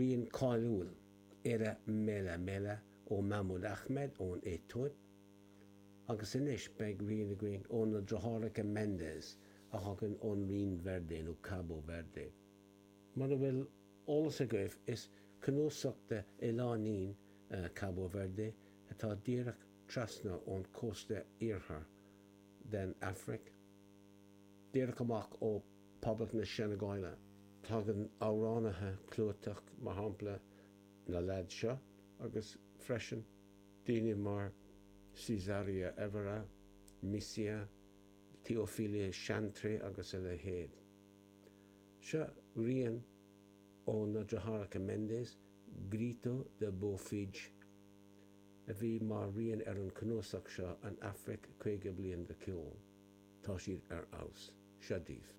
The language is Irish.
Rian cáiliúil, Era Mela Mela ó Mahmoud Ahmed ón Aetóip, agus anois beidh rian againn ó na deartháireacha Mendes a thagann ón Rinn Verde nó Cabo Verde. Mura bhfuil eolas agaibh, is cnuasach de oileáinín Cabo Verde atá díreach trasna ón cósta iarthair den Afraic, díreach amach ó Poblacht na Seineagáile. Tagann amhránaithe clúiteach, mar shampla na leaids seo, agus freisin daoine mar Cesária Évora, Mísia, Teofília Chantre agus a leithéid. Seo rian ó na deartháireacha Mendes, Grito de Bofige, a bhí mar rian ar an cnuasach seo, An Afraic 50 Bliain de Cheol. Tá siad ar fheabhas. Seo daoibh.